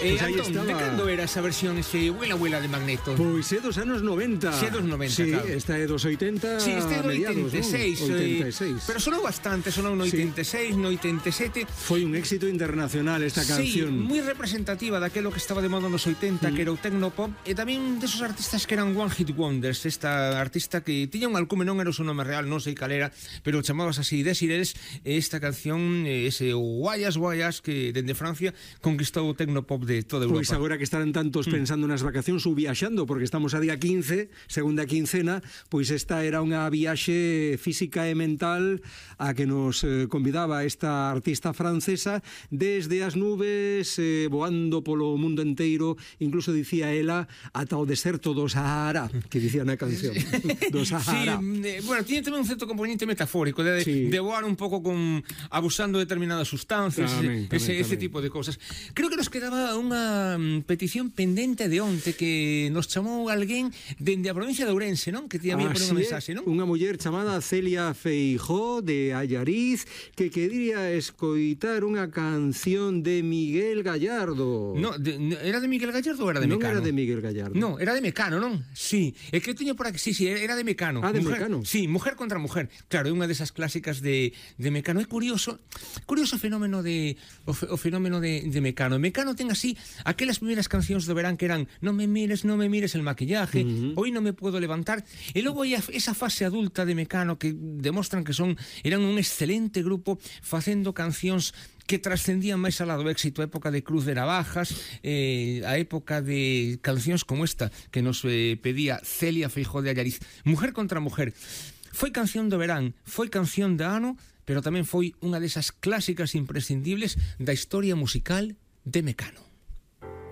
Aí Antón, estaba. de cando era esa versión ese Huela de Magneto? Pois é dos anos 90. Sí, dos 90, sí, claro. Esta é dos 80 Sí, este é do mediados, 86, non? 86. pero sonou bastante, sonou no 86, no 87. Foi un éxito internacional esta canción. Sí, moi representativa daquelo que estaba de moda nos 80, que era o tecnopop, e tamén desos artistas que eran one hit wonders. Esta artista que tiña un alcume, non era o seu nome real, non sei cal era, pero chamabas así Desirés, esta canción, ese Guayas Guayas, que dende Francia conquistou o tecnopop de toda Europa. Pois agora que estarán tantos pensando nas vacacións ou viaxando, porque estamos a día 15, segunda quincena, pois esta era unha viaxe física e mental a que nos convidaba esta artista francesa desde as nubes, voando polo mundo inteiro, incluso dicía ela ata o deserto do Sahara, que dicía na canción do Sahara. Sí, bueno, tiene tamén un certo componente metafórico de voar un pouco con abusando de determinadas sustancias, ese tipo de cosas. Creo que nos quedaba unha petición pendente de onte que nos chamou alguén dende a provincia de Ourense, non? Que te había por unha mensaxe, non? Unha muller chamada Celia Feijó de Allariz que quería escoitar unha canción de Miguel Gallardo. No, era de Miguel Gallardo ou era de Mecano? Non era de Miguel Gallardo. No, era de Mecano, non? Sí, é que eu teño por aquí, sí, era de Mecano. De Mecano. Sí, Mujer contra Mujer. Claro, é unha desas clásicas de Mecano. É curioso o fenómeno o fenómeno de Mecano. Mecano ten así aquelas primeiras cancións do verán que eran Non me mires el maquillaje, Hoy no me puedo levantar, e logo hai esa fase adulta de Mecano que demostran que eran un excelente grupo facendo cancións que trascendían máis alá do éxito, a época de Cruz de Navajas, a época de cancións como esta que nos pedía Celia Feijó de Allariz. Mujer contra Mujer foi canción do verán, foi canción de ano, pero tamén foi unha desas clásicas imprescindibles da historia musical de Mecano.